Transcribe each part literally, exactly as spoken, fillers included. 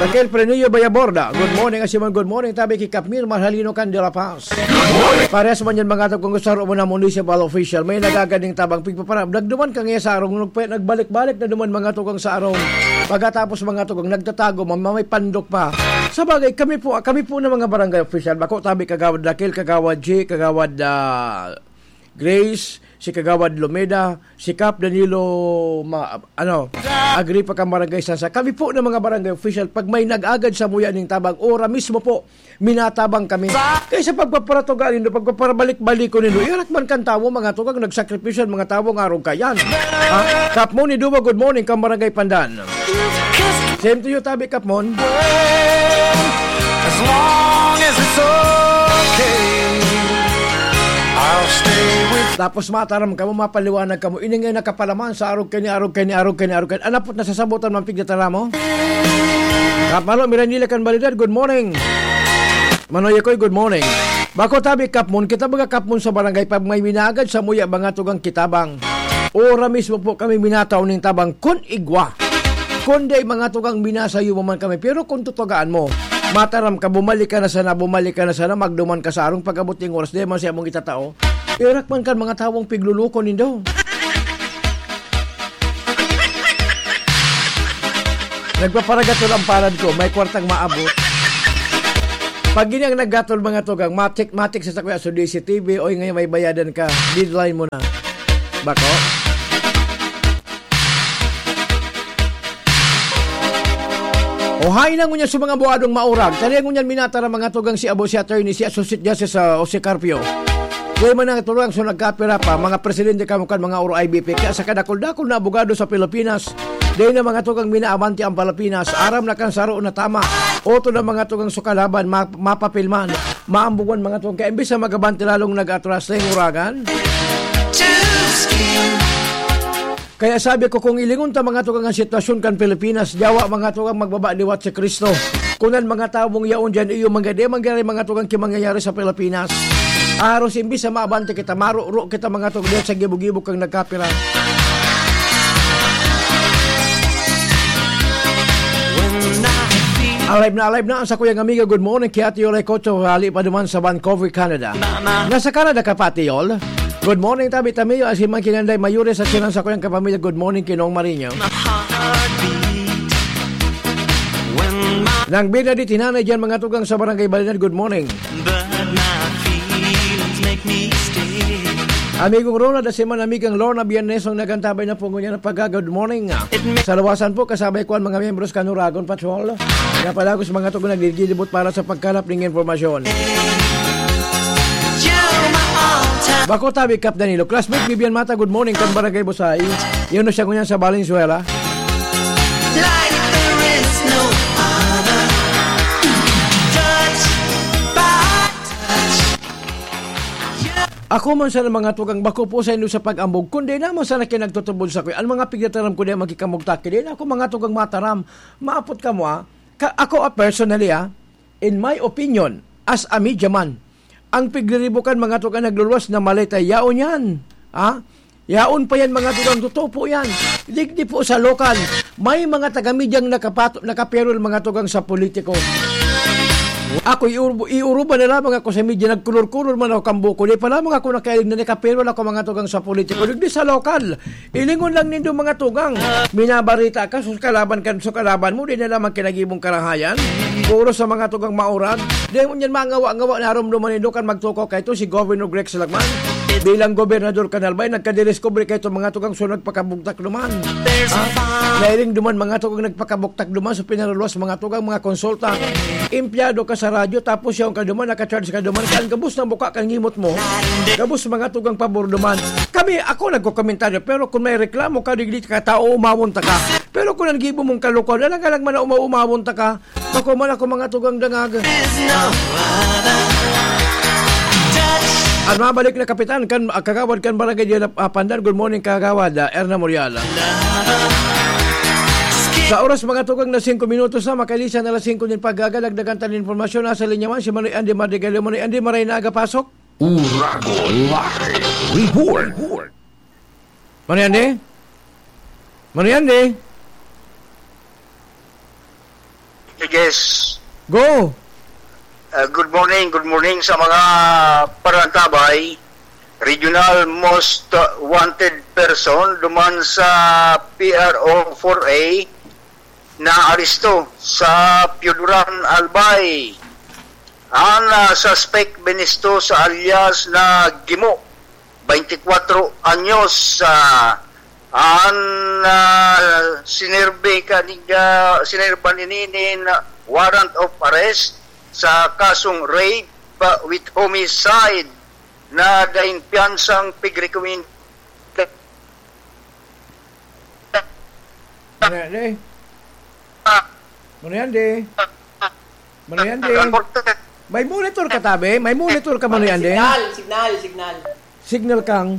Raquel Prenillo Bayaborda, good morning. Asin man, good morning tabi ki Kap Mir Marhalino kan De La Paz. Parehas man yan, mga tao, kung gusto mo na municipal official, may nagagad ning tabang pigpaparab. Nagduman ka ngayon sa arong, nagpa-, nagbalik-balik na duman, mga tugang, sa arong. Pagkatapos, mga tugang, nagtatago, ma-, may pandok pa. Sa bagay, kami po, kami po na mga barangay official, bako tabi Kagawad Raquel, Kagawad G, Kagawad, ah, Grace, si Kagawad Lomeda, si Kap Danilo, ma-, ano, Agripa kan Barangay Sansa. Kami po na mga barangay official, pag may nag-agad sa muya ning tabang, ora mismo po, minatabang kami. Kaysa pagpaparatuga nindo, pagpaparabalik-balik ko nindo, irak man kan tawo, mga tugang, nagsakripisyo an mga tawo nga arog kayan. Ha? Kap Mon ni Duba, good morning, kan Barangay Pandan. Same to you, tabi, Kap Mon. As long as it's okay, I'll stay with. Tapos mataram kamo, mapaliwanag kamo. Ini nga nakapalaman sa arog kani, arog kani, arog kani, arog kani. Anapot na sasabotan man pigdataram mo? Kap Malo, Miranila kan Balidad, good morning. Manoy Akoy, good morning. Bako tabi, Kap Mon, kita baga, Kap Mon, sa barangay, pag may minagad sa muya, mga tugang kitabang. Ora mismo po kami minatao ning tabang kun igwa. Kun di, mga tugang, minasayo mo man kami. Pero kung tutugaan mo, mataram ka, bumalik ka na sana, bumalik ka na sana, magduman ka sa arong pag-abot ning oras, di man siya mong itatao. Irak man kan mga tawong pigluluko nindo. Nagpaparagatol ang palad ko, may kwartang maabot. Pag ini ang naggatol, mga tugang, matik-matik sa sakuya, so D C T V, oy, ngayon may bayadan ka, deadline mo na. Bako? O, hain na ngunyan sa mga buadong maurag. Tali ngunyan minatara, mga tugang, si Abo, si Attorney, si Associate Justice, ah, Jose Carpio. Kaya man ang tugang, so nagkapira pa, mga presidente kamo kan mga oro I B P. Kaya sa kadakul-dakul na abogado sa Pilipinas, dahil na, mga tugang, minaabante ang Pilipinas, aram na kan saro na tama. Oto na, mga tugang, so kalaban, ma-, mapapilman, maambugan, mga tugang. Kaya imbis na magabante, lalong nag-atras na yung uragan. Kaya sabi ko, kung ilingon ta, mga tugang, ang sitwasyon kan Pilipinas, yawa, mga tugang, magbaba liwat si Cristo. Kunan, mga tawong yaon diyan, iyo, mga di, mangyari, mga tugang, ki mangyayari sa Pilipinas. Aros, imbis na maabante kita, maruro kita, mga tugang, diyan sa gibo-gibo kang nagkapira. Alive na alive na ang sakuyang amiga. Good morning, ki Ate Yolay Cocho, hali pa duman sa Vancouver, Canada. Nasa Canada ka pa, Ate Yol? Good morning, tabi tamiyo, asin man ki Nanday Mayores at sinan sakuyang kapamilya. Good morning, Kinong Marino. My heartbeat. When my Nang Bernadette Hinanay diyan, mga tugang sa Barangay Balinad, good morning. But my feelings make me stay. Amigong Ronald, asin man amigang Lorna Biernes, ang nagantabay na po ngunyan ng pagka-good morning. It may Sa luwasan po, kasabay ko ang mga miyembros kan Uragon Patrol. Napalagos, mga tugang, naglilibot para sa pagkalap ning impormasyon. Bako tabi, Kap Danilo. Classmate Vivian Mata, good morning, kan Barangay Busay. Yun na siya ngunyan sa Valenzuela. Like there is no other. Touch by touch. Ako man sana, mga tugang, bako po sa indo sa pag-ambog, kundi naman sana kinagtutubod sa kuya. Ang mga pigataram ko di magkikamugtaki, di na ako, mga tugang, mataram. Maapot ka mo, ah. Ka-, ako, ah, personally, ah, in my opinion, as a media man, ang pigriribukan, mga tugang, nagluluwas na maleta, yaon yan. Ha? Yaon pa yan, mga tugang, totoo po yan. Digdi po sa lokal, may mga taga-medyang nakapato-, nakaperol, mga tugang, sa politiko. Ako, iur-, iuruban na lamang ako sa media, nagkulor-kulor man ako kan buko. Di pa lamang ako nakailing na nakaperol ako, mga tugang, sa politiko. Digdi sa lokal, ilingon lang nindo, mga tugang. Minabarita ka, sus, kalaban ka, sus, kalaban mo, di na lamang kinagibong karahayan. Puro sa mga tugang maurag. Di mo niyan mangawa-ngawa na arom duman nindo kan magtukaw kay ito si Governor Rex Lagman. Bilang gobernador kan Albay, nagkadiskubre kay ito mga tugang, so nagpakabugtak duman. Ha? Nairing duman mga tugang nagpakabugtak duman, so pinaraluwas mga tugang, mga konsulta. Empleyado ka sa radyo, tapos yaon ka duman, naka-charge ka duman, kan gabos na buka kan ngimot mo. Gabos mga tugang pabor duman. Kami, ako nagkokomentaryo, pero kung may reklamo ka, digdi ka tao, umawon ta ka. Pero kung ang gibo mong kalukuhan, alang-alang man na uma-, umawon ta ka. Ako man ako mga tugang dangag. At mabalik na kapitan, kan, ah, kagawad kan barangay diyan, ah, Pandan. Good morning, kagawad, ah, Erna Morial. Sa oras, mga tugang, na singko minutos na, makailisan na alas singko nin paggagalagdagan tan impormasyon. Nasa linya man si Manoy Andy Mardigalio. Manoy Andy, maray na aga, pasok. Uragon Live Report. Manoy Andy? Manoy Andy? Yes. Go! Uh, good morning, good morning sa mga parantabay. Regional most wanted person duman sa P R O four A na aresto sa Pioduran, Albay. Ang, ah, suspect binisto sa alias na Gimo, twenty-four anyos, ah, ang, ah, sinerbe kaning, ah, sinerban ini nin warrant of arrest sa kasong rape, ah, with homicide na daing piyansang pigrekomenda. Ano yan, eh? Ano yan, di? Ano yan, di? May monitor ka, tabi? May monitor ka, Manoy Andy? Signal, signal, signal. Signal kang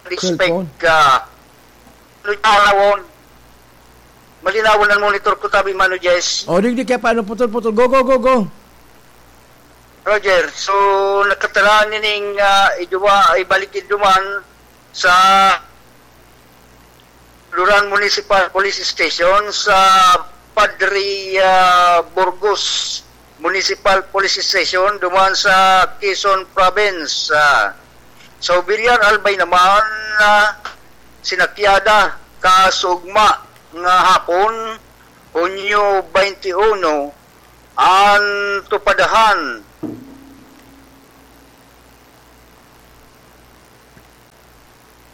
Respect cellphone. Ka. Ano yung tawon? Malinawon ang monitor ko, tabi, Mano Jess. O, di, di kaya paano putol-putol. Go, go, go, go. Roger, so, nakataraan nining, ah, iduwa, ibalik iduman sa Luran Municipal Police Station, sa Padre, ah, Burgos Municipal Police Station, duman sa Quezon Province. Ah, sa Obillar Albay naman, ah, sinakyada, kasugma nga hapon, Hunyo twenty-one, an tupadahan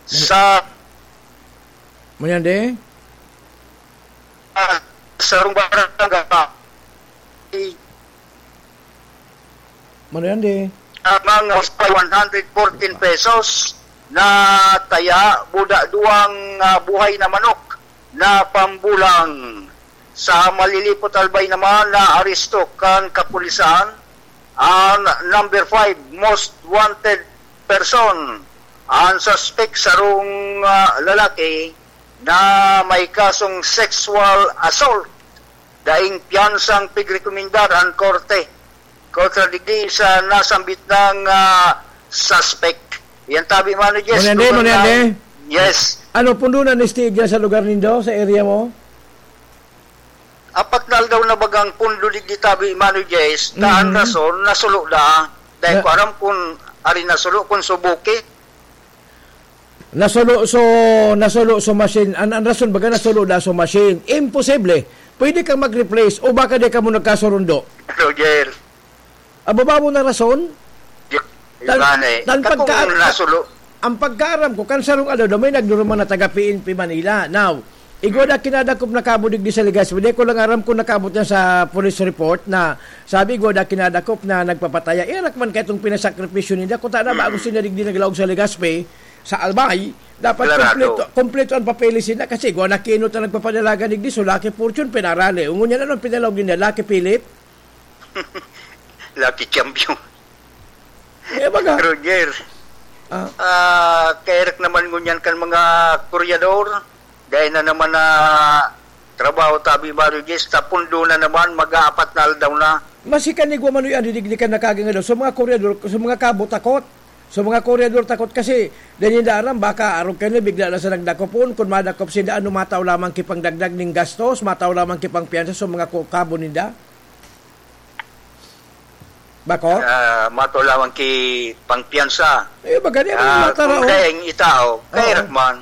sa Mano yan, di? Ah, sarong barangay. Mano yan, di? Amang one hundred fourteen pesos na taya, buda duwang, ah, buhay na manok na pambulang. Sa Malilipot Albay naman, naaresto kan kapulisan ang number five most wanted person. Ang suspek, sarong, ah, lalaki na may kasong sexual assault. Daing piyansang pigrekomendar ang korte kontra digdi sa nasambit nang, ah, suspek. Yan tabi, Mano Jess. Mano yan, di? Mano yan, di? Yes. Ano, pundo na ni Stiga sa lugar nindo, sa area mo? Apat na aldaw na bagang pundo digdi tabi, Mano Jess, na ang Mhm. rason, nasulo da. Dahil Na- ko aram kung ari nasulo, kung subuki. Nasulo, so, nasulo so machine. An, an rason baga nasulo da so machine. Imposible. Pwede kang mag-replace o baka di ka mo nagkasurundo. Roger. Aba, babo na rason? Di, Tan, iba na eh. Tan Kakung pagka, nasulo. Ang pagkaaram ko, kan sarong aldaw daw, may nagduruman na taga P N P Manila. Now, igwa da kinadakop na kabo digdi sa Legazpi. Di ko lang aram kung nakaabot niya sa police report na sabi, igwa da kinadakop na nagpapataya. Iyarak man kaitong pinasakripisyo ninda. Kung tana ba, Mm. gusto niya digdi naglaog sa Legazpi, sa Albay, dapat Klarado. kompleto, kompleto ang papeles nila kasi igwa na kinot na nagpapadalagan digdi. So, Lucky Fortune, pinarali. Ngunyan, anong pinalaog ninda? Lucky Philip? Lucky champion. Eh, baga. Roger. Ah. Ah, kairek naman ngunyan kan mga kuryador. Dahil na naman na trabaho tabi, Mano Jess, tapundo na naman, mag-aapat na aldaw na. Masikan ni Guamanoy ang didigdikan na kaganga daw. So, mga kuryador, so, mga kabo, takot. So, mga kuryador, takot kasi, dahil hindi aram, baka arog kayo na, bigla na sa nagdakopon. Kung madakop sila, ano, mataw lamang kipang dagdag ning gastos, mataw lamang kipang piyansa, so, mga ku-, kabo ninda. Bako? Ah, mato lamang ki pangpiyansa. Eh, baga niya, Ah, matara, kung oh. Daing itao, Oo. Kay Rahman.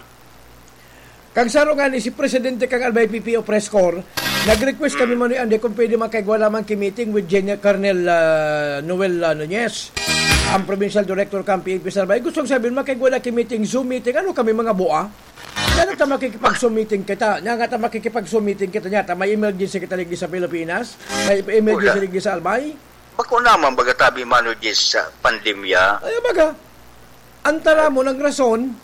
Kag saro nga ni si Presidente kang Albay P P O Press Corps, nag-request kami, Mm. Manoy Andy, kung pwede makaigwa lamang ki meeting with Gen-, Colonel, ah, Noel, ah, Nunez, ang Provincial Director kang P N P sa Albay. Gusto kong sabihin, makaigwa na ki meeting, Zoom meeting. Ano kami, mga bua? Yan ang ta makikipag-Zoom meeting kita. Yan nga ta makikipag-Zoom meeting kita niya. Ta may emergency kita ligdi sa Pilipinas. May emergency Wala. Ligdi sa Albay. Bako naman baga tabi, Mano Jess, sa pandemya. Ay, baga. Ang tara mo ng rason,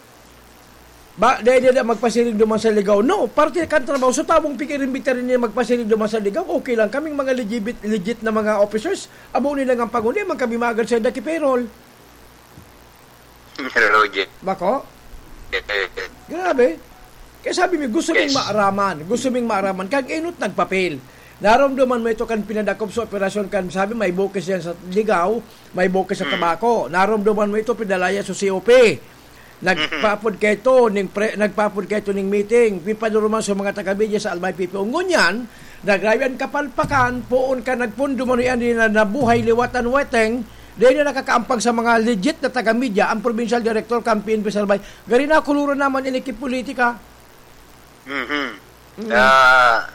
ba, dahil niya magpasiring duman sa ligaw. No, parte kan trabaho. So, tabong pikir-imbita rin niya magpasiring duman sa ligaw. Okay lang. Kaming mga legit, legit na mga officers, abo nila nga pangundi, man kami magad sa daki payroll. Roger. Bako? Eh, eh, eh. Grabe. Kaya sabi mi, gusto ming Yes. maaraman. Gusto ming maaraman. Kag inot nagpapel. Naramdaman mo ito kan pinadakop sa operasyon kan, sabi, may bukis yan sa ligaw, may bukis sa Hmm. tabako. Naramdaman mo ito, pinalaya sa C O P. Nagpapod kaito ning pre-, nagpapod kaito ning meeting. Pipaduruman sa mga taga-media sa Albay P P O. Ngunyan, Daglayan kapalpakan, poon ka nagpundo man yan na nabuhay liwat an weteng, dahil na nakakaampag sa mga legit na taga-media, ang probinsyal direktor kan P N P sa Albay. Gari na, kuluro naman ini ki politika. Mhm. Mm. Ah,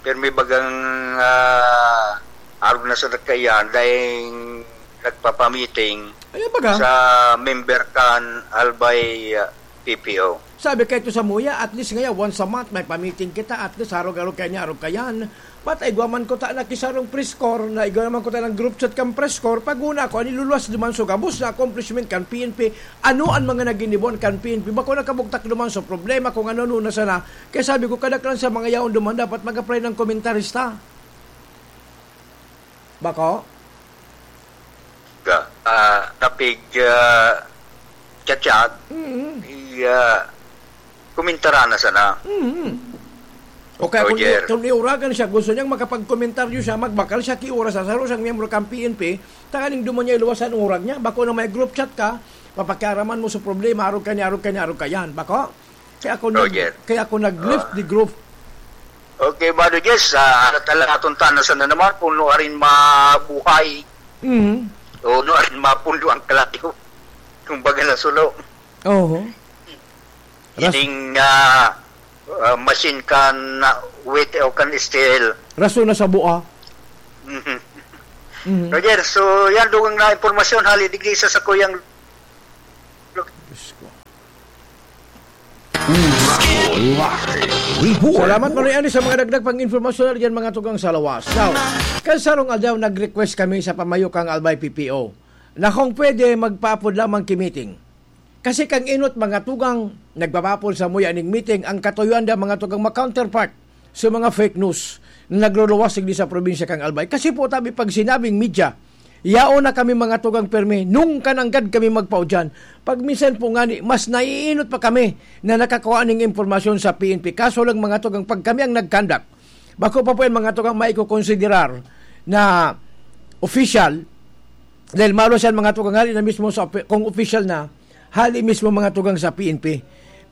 pirmi bagang, ah, arog na sa nagkaiyan, dahil nagpapamiting Ay, baga? sa member kan Albay, ah, P P O. Sabi kayo to sa Muya, at least ngayon, once a month, may pamiting kita, at least arog-arog kayo niya, arog kayan. But igwa man ko ta nakisarong press corps, na igwa naman ko ta ng group chat kan press corps, pag una ko, aniluluwas naman so gabos na accomplishment kan P N P, ano ang mga naginibuan kan P N P, bako nakabugtak naman so problema kung ano-ano na sana, kaya sabi ko, kadaklan sa mga yaon duman, dapat mag-apply ng komentarista. Bako? Ga, ah, kapig, ah, chat-chat, Mm. i, ah, kumintarana sana. Mm. O kaya kung, Roger. i- kung iuragan siya, gusto niyang makapagkomentaryo siya, magbakal siya ki oras sa saro siyang miyembro kan P N P, tanganing duman niya iluwas ang urag niya. Bako na may group chat ka, papakiaraman mo sa problema, arog ka niya, arog ka niya, arog ka yan. Bako? Kaya ako nag- Roger. kaya ako nag-lift Ah. the group. Okay, Bado Jess, ah, arat-alaton ta na sana naman kung nuarin mabuhay. Mhm. O nuarin mapundo ang kalayo. Kung baga na sulo. Oho. Ras- Ining, ah, ah, machine kan, ah, wait o kan S T L. Rason na sa bua. Mhm. Mhm. Roger, so yan, dugang na impormasyon, hali digdi sa sakuyang Diyos ko. Report. Salamat, Manoy Ani, sa mga dagdag pang impormasyon na diyan, mga tugang sa lawas. Now, kan sarong aldaw, nag-request kami sa pamayo kang Albay P P O na kung pwede, magpaapod lamang ki meeting. Kasi kang inot, mga tugang, nagpapaapod sa muya ning meeting, ang katuyoan da, mga tugang, ma-counterpart sa mga fake news na nagluluwas digdi sa probinsya kang Albay. Kasi po, tabi, pag sinabing media, yaon na kami mga tugang permi, nung kananggad kami magpaudyan. Pag minsan po ngani, mas naiinot pa kami na nakakuha ning impormasyon sa P N P. Kaso lang mga tugang, pag kami ang nag-conduct, bako pa po yan mga tugang maikokonsiderar na official, dahil malo siya mga tugang ngani na mismo sa opi-, kung official na, hali mismo mga tugang sa P N P.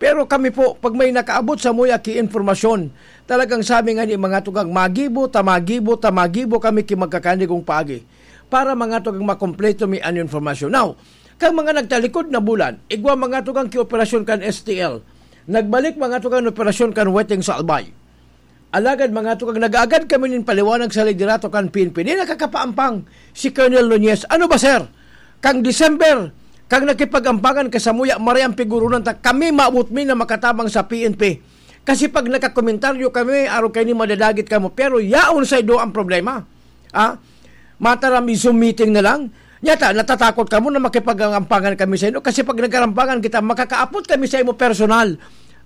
Pero kami po, pag may nakaabot sa muya ki impormasyon, talagang sabi nga ni mga tugang, magibo, ta magibo, ta magibo kami ki magkakanigong paagi para mga tugang makompleto mi an informasyon. Now, kang mga nagtalikod na bulan, igwa mga tugang ki operasyon kan S T L. Nagbalik mga tugang operasyon kan Weteng sa Albay. Alagad mga tugang, nag-aagad kami nin paliwanag sa liderato kan P N P. Di nakakapaampang si Colonel Nunez. Ano ba, sir? Kang December, kang nakipag-ampangan ka sa muya, maray ang pigurunan ta, kami maabot mi na makatabang sa P N P. Kasi pag nakakomentaryo kami, araw kayo ni madadagit kamo. Pero yaon sa ido ang problema. Ah? Mataram, i-Zoom meeting na lang. Nyata, natatakot kamo na makipag-ampangan kami sa inyo. Kasi pag nagkarampangan kita, makakaapot kami sa imo personal.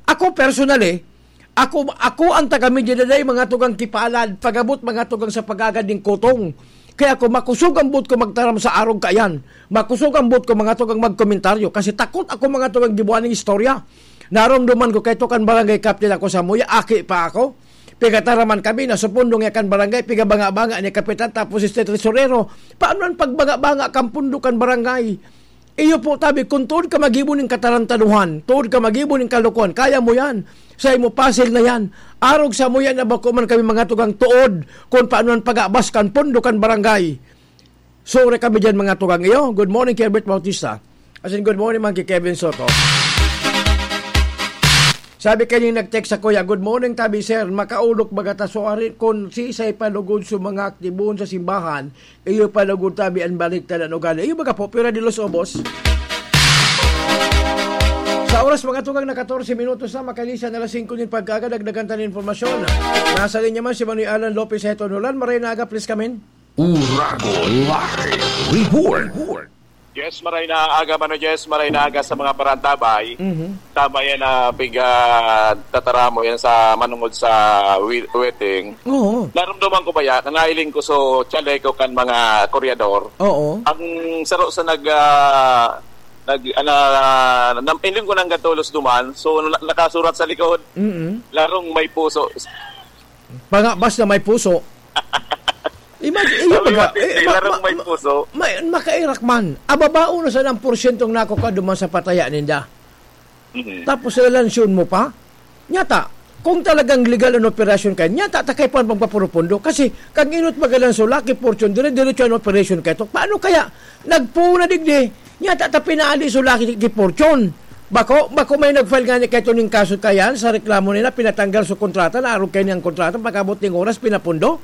Ako personal eh, Ako, ako ang taga-media na dai mga tugang kipalad, pag-abot mga tugang sa pag-agad ning kutong. Kaya ako, makosog ang buot ko magtaram sa arog kaiyan. Makosog ang buot ko mga tugang magkomentaryo. Kasi takot ako mga tugang gibuan ning istorya. Naromdoman ko kay tukan barangay captain ako sa muya, aki pa ako. Pigataraman kami na sa pundo nga kan barangay, pigabanga-banga ni kapitan tapos si tesorero. Paano ang pagbanga-banga kan pundo kan barangay? Iyo po, tabi, kung tuod ka magibo nin katarantaduhan, tuod ka magibo nin kalokohan, kaya mo yan. Sa imo, pasil na yan. Arog sa mo yan na bako man kami mga tugang tuod kung paano ang pag-abas kan pondo kan barangay. Sure kami dyan, mga tugang iyo. Good morning, Herbert Bautista. As in, good morning, man, kay Kevin Soto. Sabi kayo yung nag-text sa kuya, "Good morning, tabi, sir. Makaulok baga ta, so, ari, kung sisay pa lugod sa mga aktibon sa simbahan, iyo pa lugod tabi an baliktad an ugali." Iyo baga po, Pira de los Obos. Sa oras, mga tugang, na katorse minutos na, makalisa na alas singko nin pagkaga, dagdagan ta nin impormasyon. Nasa linya man si Manoy Alan Lopez Heto Nolan. Maray na aga, please come in. Uragon Live Report. Yes, maray na aga, Mano Jess, maray na aga sa mga parantabay. Mhm. Tama yan na piga tataramo yan sa manungod sa wi-, wedding. Oo. Narumduman ko ba yan? Nailing ko so chaleco kan mga koryador. Oo. Ang saro sa nag, ah, nag, ana, nam-, iling ko nang gatulos duman. So, na-, nakasurat sa likod. Mm-mm. Larong may puso. Pangabas na may puso. Imagine, iyo Sabi baga, mo, eh, ma-, larong ma-, may ma-, puso. may, makairak man. Ababao na sa ng porsyentong nakukuha duman sa pataya ninda. Mhm. Tapos ilansyon mo pa? Nyata, Kung talagang legal an operasyon kayan, nya ta, ta kaipuhan pang papurupundo. Kasi, kang inot magalan so Lucky Fortune, dire-diretso an operasyon kaito. Paano kaya? Nagpuon na digdi, nya ta, ta pinaali so Lucky Fortune. Bako, bako may nag-file nga ni kaito ning kaso kayan sa reklamo nila, pinatanggal so kontrata, naarog kaini ang kontrata, pag-abot ning oras, pinapundo.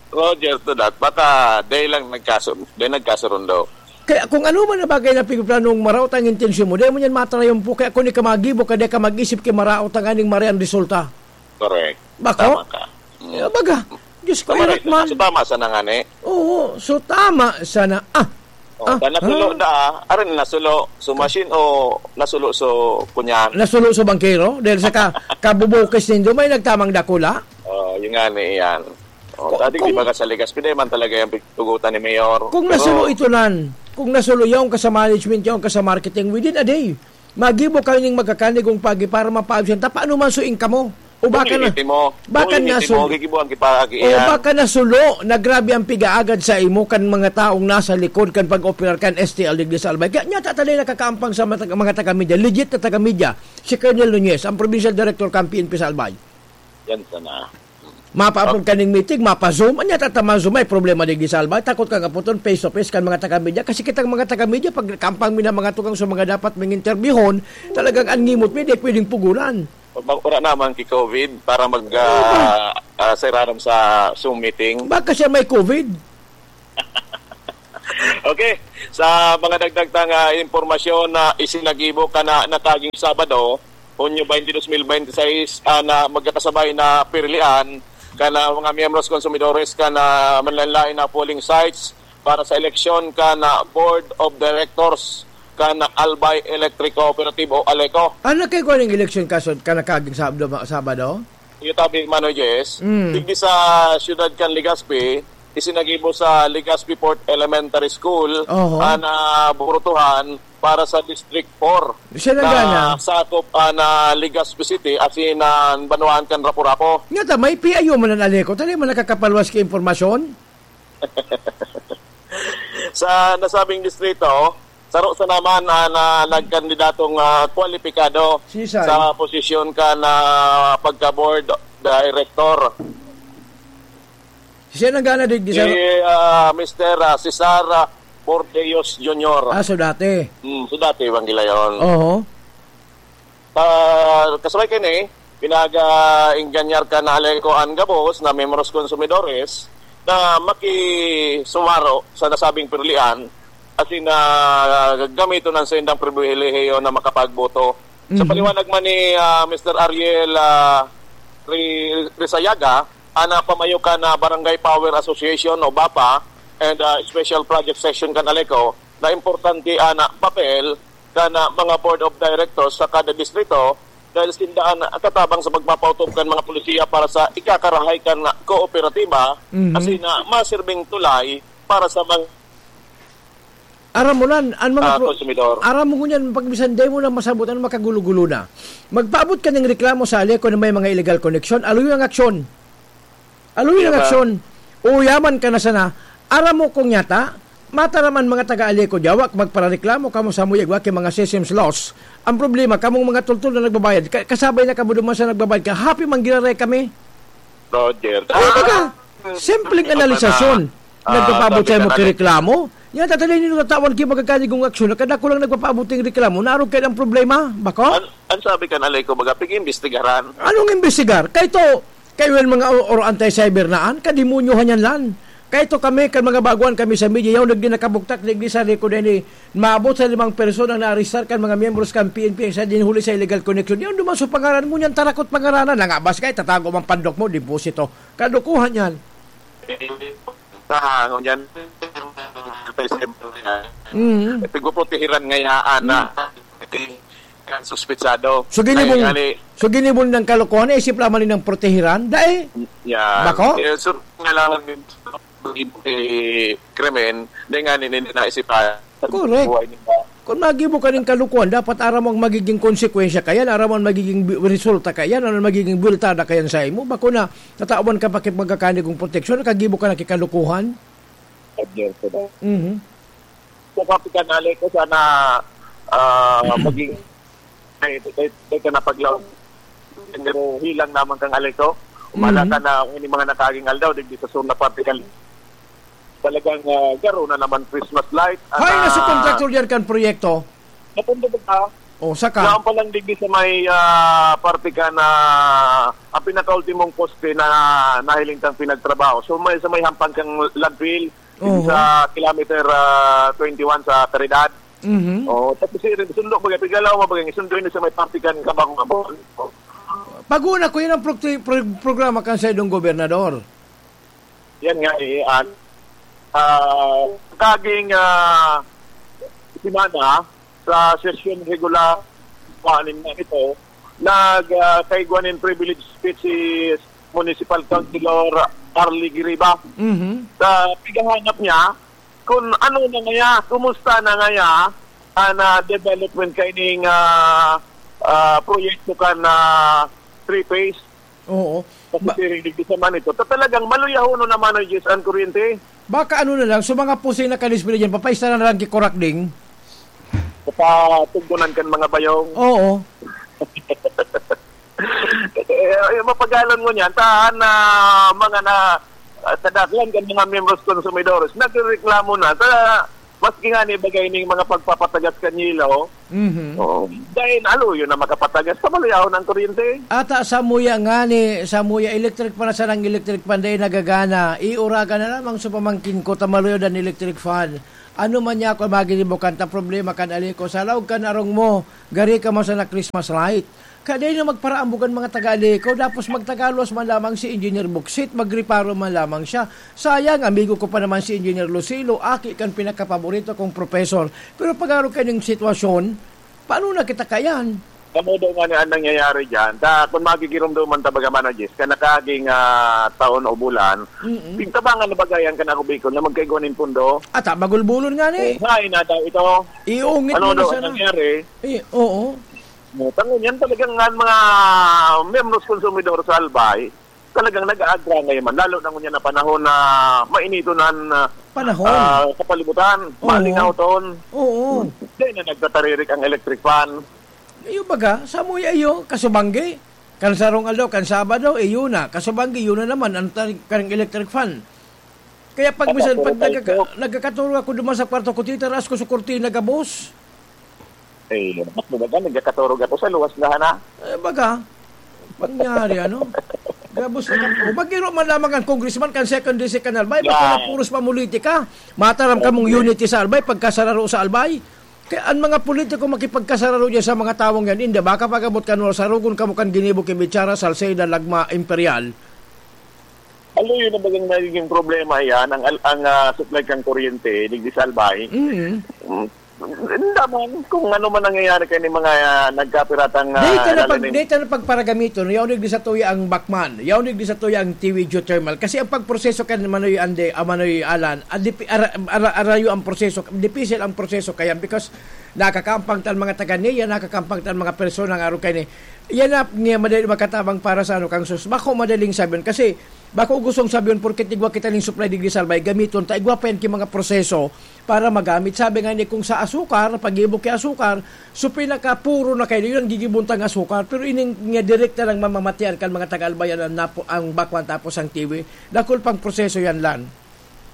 Roger, to that, baka dai lang nagkaso-, dai nagkasurundo. Kaya kung ano man na bagay na pigplanong maraot ang intensyon mo, dai mo niyan matarayumpo. Kaya kung di ka magibo ka, dai ka mag-isip kay maraot ang aning mare ang resulta. Correct. Bako? Tama ka. Mm. Kaya baga, Diyos ko, Tama ingat rin. man. So, tama sa nangani. Oo, so tama sana. Ah, Oh, ah, ta nasulo ah. da, ah. Arin nasulo. So, machine o nasulo so kunyan? Nasulo so bangkero? Dahil sa ka-, kabubukis nindo, may nagtamang dakula? Oh, yun nga ni iyan. Oh, Kung, dati, di kung ba ka sa Legazpi, di man talaga yung pagtugutan ni Mayor. Kung Pero nasulo ito nan, kung nasulo yaon ka sa management, yaon ka sa marketing, within a day, magibo kayo ning magkakanigong pagi para mapaabsyan ta, paano man so income mo? O baka Kung na, limiti mo, baka kung limiti nasul-, mo, gigibuan kita, o iyan. baka nasulo na grabe ang pigaagad sa imo kan mga taong nasa likod kan pag-operar kan S T L digdi sa Albay. Kaya niya tatalay nakakaampang sa mga taga-, mga taga-media, legit na taga-media, si Colonel Nunez, ang provincial director kan P N P sa Albay. Yan sana. Mapaapod Op- ka ning meeting, mapa-Zoom. Anya tatama Zoom, may problema digdi sa Albay. Takot ka nga puton, face to face kan mga taga-media. Kasi kitang mga taga-media, pag kampang mi na mga tugang sa mga dapat ming interviewhon, talagang an ngimot mi, di pwedeng pugulan. Pag wala naman ki-covid para mag, Oo ba? ah, ah, serarom sa Zoom meeting. Baka siya may covid. Okay, sa mga dagdag tang, ah, impormasyon na isinagibo kan nakaging Sabado, Hunyo twenty, dos mil bente seis, ah, na magkakasabay na pirilian kan mga miyembros, konsumidores kan manlaen-laen na polling sites para sa eleksyon kan Board of Directors kan Albay Electric Cooperative o ALECO. Ano kay kuwan ang eleksyon kaso kan nakaging Sabado, Sabado? Iyo tabi, Manoy Jess, Mm. digdi sa siyudad kan Legazpi, isinagibo sa Legazpi Fourth Elementary School Oho. an, ah, burutuhan para sa District four Siya na na gana. sakop an, ah, Legazpi City, asin an banwaan kan Rapu-Rapu. Nga ta, may P I O man an ALECO. Tali man nakakapalwas ki impormasyon? Sa nasabing distrito, saro sa naman an, ah, nagkandidatong, ah, kwalipikado Sisay? sa posisyon kan pagka-board director. Siya nang gana digdi Si, sa ah, Mister, ah, Cesar, ah, Bordeos Junior. Ah, so dati. Hmm, so dati, Evangelion. Oho. Ah, kasabay kaini, pinag-, ah, ingganyar kan ALECO an gabos na miyembros konsumidores na makisumaro sa nasabing pirilian asin na gamiton an saindang pribilehiyo na makapagboto. Sa Mhm. paliwanag man ni, ah, Mister Ariel, ah, Ri-, Risayaga, an, ah, pamayo kan, ah, Barangay Power Association o BAPA and, ah, Special Project Section kan ALECO, na importante an, ah, papel kan, ah, mga board of directors sa kada distrito dahil sinda an, ah, katabang sa pagpapautob kan mga polisiya para sa ikakarahay kan, ah, kooperatiba Mhm. asin, ah, masirbing tulay para sa mga Aram mo nan, an mga ah, pro-, konsumidor. Aram mo ngunyan, pag bisan dai mo na masabot, ano makagulo-gulo na. Magpaabot ka ning reklamo sa ALECO na may mga illegal connection, aluyon ang aksyon. Aluyon ang Kaya ba? aksyon. Uyaman ka na sana. Aram mo kung yata, mataram an mga taga-ALECO diya, wa magparereklamo kamo sa muyag-wa ki mga systems loss. Ang problema, kamong mga tultol na nagbabayad, ka-, kasabay na kamo duman sa nagbabayad ka, happy man giraray kami. Roger. Kaya baga, Ah, simpleng ano pa analisasyon. na? Ah, Nagpapaabot sabi sa imo ka na ki ni reklamo? Yan, tatay, nino tatawan ki magkakanigong aksyon, na kadako lang nagpapaabot ning reklamo, naarog kayo ang problema, bako? An, an sabi ka na, Leko, baga, pig-imbestigaran. Anong imbestigar? Kay to, kayo yan mga o-, or anti-cyber naan, kademonyohan yan lan. Kay to kami, kan mga baguhan kami sa media, yaw nagdi nakabuktak, nagdi sa record na ini, maabot sa limang persona na arestar kan mga miyembros kan P N P sa dinhuli sa illegal connection. Yaw duman sa pangaran mo niyan, tarakot pangaranan, nangabas ka, itatago mang pandok mo, deposito. Kadukuhan yan. Sa hangon yan, Mm. Pagpuprotehiran ngayaan na. Mm. Kan suspetsado. So, ginibong, Ay, gali. so, ginibong ng kalokohan, isip lamang nilang protehiran? Dai? Yan. Bako? Eh, so, kailangan din, eh, krimen, dai nga nin-, naisipan. Correct. Buhay nila. Kung magibo ka ning kalukuhan, dapat aram mo ang magiging konsekwensya kayan, aram mo ang magiging bi-, resulta kayan, ano ang magiging buweltada kayan sa imo. Bako na, tatawan ka pa kit magkakanig kong proteksyon, kagibo ka na kikalukuhan. Adyan ko na. Mhm. Sa kapitan, Alex, sana, ah, maging, ay, ay, ay, ka na paglaw. Pero hilang naman kang alito. Umala Mhm. ka na, ini mga nakaaging aldaw, digdi sa sur na parte kan-, talagang, ah, garo na naman Christmas light. Hay, Ana, nasa kontraktor diyan kan proyekto? Napundo ba ka? O, saka? Yan pa lang digdi sa may, ah, parte ka na ang pinakaultimong poste na nahiling tang pinagtrabaho. So, may, sa may hampang kang landfill, Oho. sa kilometer, ah, twenty-one sa Caridad. Mhm. Oh, tapos si sundo baga, pigalaw mo baga, sundo ini sa may parte kan Kabakong Abon. Pag-una ko, yun ang pro-, pro-, programa kan sa idong gobernador. Yan nga, eh, an-, ah, kaging, ah, semana, sa sesyon regular, anim na ito, nag, ah, kaigwa nin privilege speech si Municipal Councilor Arlie Giriba. Mhm. Sa pighahanap niya, kung ano na ngaya, kumusta na ngaya, ang, ah, development kaining, ah, ah, proyekto kan, ah, three phase. Oo. Kasi Ba- siring digdi sa man ito. Ta-, talagang maluyahonon naman ang Diyos ang kuryente. Baka ano na lang, so mga pusing na kalisbili dyan, papaista na lang kay Kurakding. Papatugdonan kan mga bayong. Oo. Eh, eh, mapagalon mo niyan, ta, na mga na, ah, kadaklan kan mga miyembros konsumidores, nagrereklamo na. Ta, maski nga ni bagay ning mga pagpapatagas kan yelo, Mhm. oo, dahil aluyo na makapatagas, pamaluyahon ang kuryente. Ata samuya nga ni, samuya electric fan, sana ang electric fan, dahil nagagana, iuragan na lamang sa pamangkin ko, tamaluyo dan electric fan. Ano man niya ako maginibukan ta problema kan ali ko, sa laog kan arong mo, gari ka man sana Christmas light. Kaya dai na magparaambog an mga taga-Aleco, tapos magtagalos man lamang si Engineer Buksit, magreparo man lamang siya. Sayang, amigo ko pa naman si Engineer Lucilo, aki kan pinakapaborito kong professor. Pero pag-aro kaining sitwasyon, paano na kita kayan? Kamo daw nga ni ang nangyayari dyan. Ta, kung magigiromdoman ta baga, Mano Jis, ka nakaging, ah, taon o bulan, Mm-mm. pigtabangan na bagayan ka na ako, Bicol, na magkaigwa nin pundo. Ata, magulbulon nga ni. Eh, hain na daw ito. Iungit Ano mo na daw sana. ang nangyari? Eh, oo. Tango niyan talagang nga mga miyembros konsumidor sa Albay, talagang nag-aagra ngayon man. Lalo na ngunyan na panahon na mainiton ang, ah, Panahon. ah, kapalibutan, Oo. maalingaw toon. Oo. Di na nagtataririk ang electric fan. Iyo baga, samuya iyo, kasubanggi. Kan sarong aldaw, kan Sabado, iyo na. Kasubanggi, iyo na naman, ang tar-, karang electric fan. Kaya pag Ano, minsan, puro pag nagkaka-, kayo. nagkakaturog ako duman sa kwarto ko, titaraas ko sa kurtina, gabos. Eh, mas maganda, nagkakaturog ako sa luwas na, hana. Eh, baga, pangyari, ano? Gabos na, o, magiro man lamang ang congressman kan second district kan Albay, Yeah. baka puros pamulitika. Mataram kamong Okay. unity sa Albay, pagkasararo sa Albay. Kaya ang mga politiko makipagkasararo dyan sa mga tawong yan, hindi, baka pag-abot ka, no, sarugon kamo kan ginibo ki Bichara, Salceda, Lagma, Imperial. Aluyo na bagang nagiging problema yan, ang al-, ang, ah, supply kang kuryente, digdi sa Albay. Mm. Mm. Hindi man, kung ano man nangyayari kay ni mga, ah, nagkapiratang, ah, Dito na pag, nalalim. dito na pagparagamiton, yaon digdi sa tuya ang Bacman, yaon digdi sa tuya ang T V geothermal. Kasi ang pagproseso kan Manoy Ande, ah, Manoy Alan, ah, dipi-, ara-, ara-, arayo ang proseso, dipisil ang proseso kaya because nakakampang tan mga taga niya, nakakampang tan mga persona nga aro kay ni, yan na, niya madali makatabang para sa ano, kang sus. Bako madaling sabihin, kasi bako gustong sabihin, porket igwa kita ning supply digdi sa Albay, gamiton ta, igwa pa yan ki mga proseso para magamit. Sabi nga ni, kung sa asukar, pag-ibo ki asukar, so pinakapuro na kayo, yun ang gigibon tang asukar. Pero ining nga direkta lang mamamatian kan mga taga-Albay, yan ang napo-, ang Bacman tapos ang T V. Dakul pang proseso yan, Lan.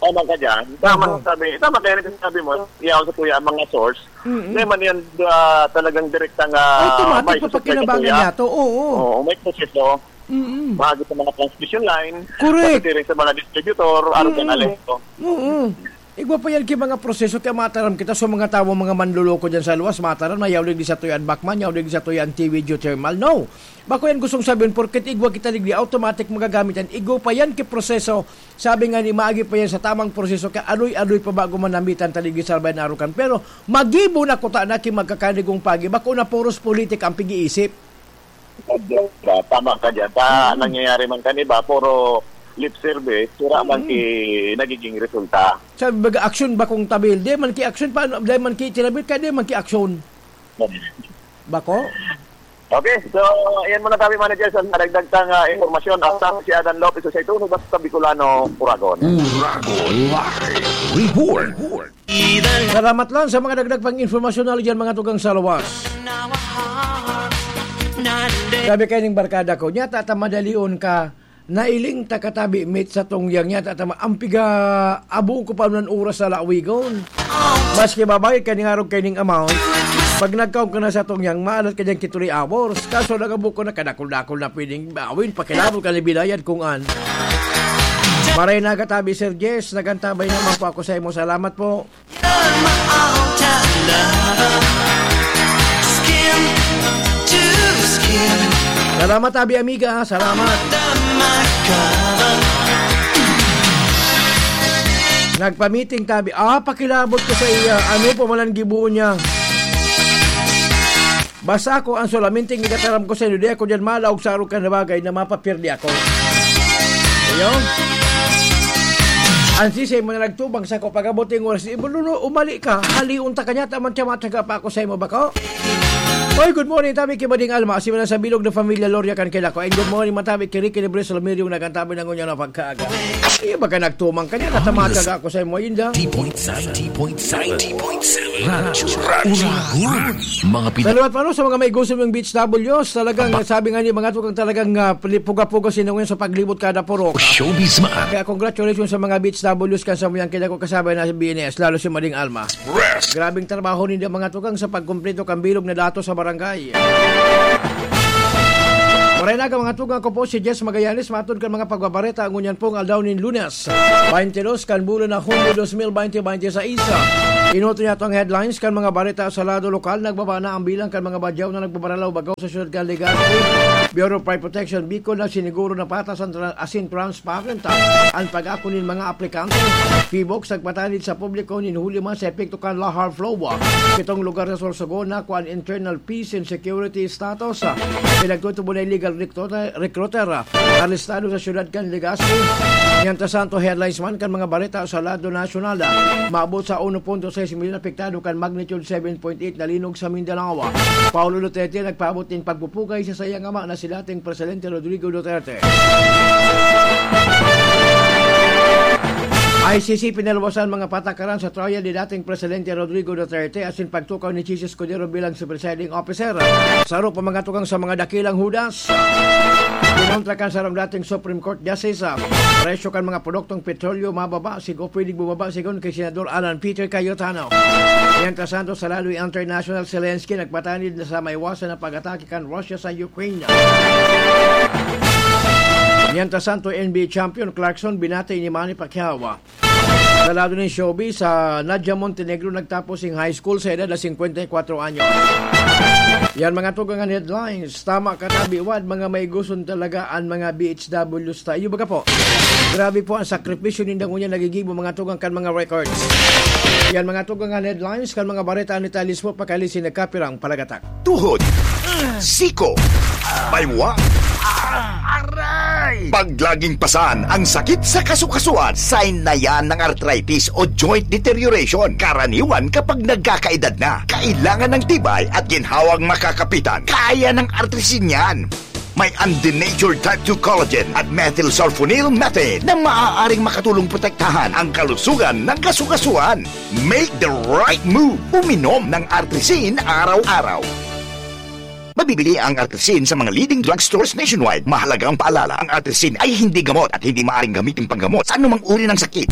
Tama ka dyan. Tama Oo. ang sabi. Tama kaya rin sabi mo, yaon sa tuya ang mga source. Mm-mm. Hindi man yan, ah, talagang direktang, ah, Automatic, may susupply sa papakinabangan tuya. niya to. Oo. Oo, may proseso. Mm-mm. Mahagit sa mga transmission line, Correct. pati rin sa mga distributor, araw ka Mm-mm. na lento. Oo. Igwa pa yan ki mga proseso, kaya mataram kita sa mga tawo, mga manloloko dyan sa luwas, mataram na yaw digdi sa tuya an Bacman, yaw digdi sa tuya an T V geothermal. No! Bako yan gustong sabihin, porket igwa kita digdi, automatic magagamit yan. Igwa pa yan ki proseso. Sabi nga ni, maagi pa yan sa tamang proseso, kaya adoy-adoy pa bago manamitan ta digdi sa Albay na Arukan. Pero magibo na kuta na ki magkakanigong pagi, bako na puros politika ang pag-iisip. Tama ka dyan. Ta, Mm. nangyayari man kan iba, puro lip service, wala man Mm. ki nagiging resulta. Sabi baga, aksyon bakong tabil. Di man ki aksyon, paano? Di man ki tinabil, kaya di man ki aksyon. Bako? Okay, so, yan muna kami, Manager, sa nadagdag tang, ah, impormasyon. At sa si Adan Lopez, sa ito, basta Bicolano, Uragon. Uragon Live Report. Salamat lang sa mga dagdag pang impormasyon na dyan, mga tugang sa lawas. Sabi kaining barkada ko, "Nyata ta madalion ka, nailing ta katabi, mate, sa tungyang, nyata ta ma-, ang piga, abong ko pa man oras sa lawigon. Maski babae ka ning arog kaining amount, pag nagkaon ka na sa tungyang, maalat ka dyan ki three hours. Kaso nagabok ko na kadakol-dakol na pwedeng bawin, pakilabot ka ni bilayad kung an." Maray na katabi, Sir Jess, nagantabay naman po ako sa imo. Salamat po. You're my all-time lover. Skin to skin. Salamat, Abi Amiga. Salamat. Under my cover. Nagpa-meeting tabi. Ah, pakilabot ko sa iya. Ano pa man ang gibo niya? Basta ako ang solamente igataram ko sa inyo, di ako diyan malaog sa arog kan bagay na mapapirdi ako. Iyo? Ang sisay mo na nagtubang sa ko, pag-abot yung oras, "Ibululo, umali ka, halion ta kanya, taman siya matyaga pa ako sa imo, bako." Oy, good morning, tabi ki Mading Alma, si Manang sa Bilog na Pamilya Loria kan kila ko. And good morning, matabi ki Ricky Libre Solomir, yung nagantabi ng unya na pagkaaga. Iyo, baga nagtumang kanya, natamatyaga ako sa imo, Inda. T point seven. T point seven. T point seven. Radyo. Radyo. Radyo. Mga pina- Salamat pa, no, sa mga may gusto mong beach W's. Talagang, Ba- sabi nga ni mga tukang, talagang, ah, pali-, puga-puga sinungayon sa paglibot kada purok. Showbiz man. Kaya congratulations sa mga beach W's kan samuyang kaya ko kasabay na sa B N S, lalo si Mading Alma. Rest. Grabing trabaho ninyo mga tukang sa pagkumpleto kan bilog na datos sa barangay. Maray na mga tukang, ako po si Jess Magallanes, matod kan mga pagbabareta ngunyan pong aldaw nin Lunes. Baintidos kan bulan na Hunyo dos mil baynte baynte sais. Inuto niya itong headlines kan mga bareta sa lado lokal. Nagbaba na ang bilang kan mga badyaw na nagbabaralaw-bagaw sa siyudad kan Legazpi. Bureau of Fire Protection Bicol nagsiniguro na patas an tra-, asin transparent an pag-ako nin mga aplikante. PHIVOLCS nagpatanid sa publiko nin huli man sa epekto kan lahar flow. Pitong lugar sa Sorsogon nakua an internal peace and security status. Pinagtutubo na illegal recruiter, recruiter. Arestado sa siyudad kan Legazpi. Mientras tanto, headlines man kan mga bareta sa lado nasyonal. Maabot sa uno punto sais milyon apektado kan magnitude seven point eight na linog sa Mindanao. Paolo Duterte nagpaabot nin pagpupugay sa saiyang ama na si dating Presidente Rodrigo Duterte. I C C pinalwasan mga patakaran sa trial ni dating Presidente Rodrigo Duterte asin pagtukaw ni Chiz Escudero bilang si presiding officer. Saro pa mga tukang sa mga dakilang hudas. Kinontra kan sarong dating Supreme Court Justice, ah, presyo kan mga produktong petrolyo mababa, sigo pwedeng bumaba sigon kay Senador Alan Peter Cayetano. Mientras tanto, sa lado international, Zelensky nagpatanid na sa maiwasan na pag-atake kan Russia sa Ukraine. Mientras tanto, N B A champion Clarkson binati ni Manny Pacquiao. Sa lado nin showbiz, sa Nadia Montenegro nagtapos sing high school sa edad na singkwenta y kwatro anyos. Yan mga tugang an headlines. Tama ka, tabi, Wad, mga maiguson talaga an mga B H Ws tayo. Baga po, grabe po ang sakripisyo nindang unya nagigibo mga tugang kan mga records. Yan mga tugang an headlines kan mga bareta ni Talis po pakali si nagkapirang palagatak. Tuhod, siko, baywa, aray! Pag laging pasan ang sakit sa kasukasuan, sign na yan ng arthritis o joint deterioration. Karaniwan kapag nagkakaedad na, kailangan ng tibay at ginhawang makakapitan. Kaya ng Artrisin yan. May undenatured type two collagen at methylsulfonyl methane na maaaring makatulong protektahan ang kalusugan ng kasukasuan. Make the right move. Uminom ng Artrisin araw-araw. Mabibili ang Artrisin sa mga leading drugstores nationwide. Mahalagang paalala, ang Artrisin ay hindi gamot at hindi maaaring gamitin panggamot sa anumang uri ng sakit.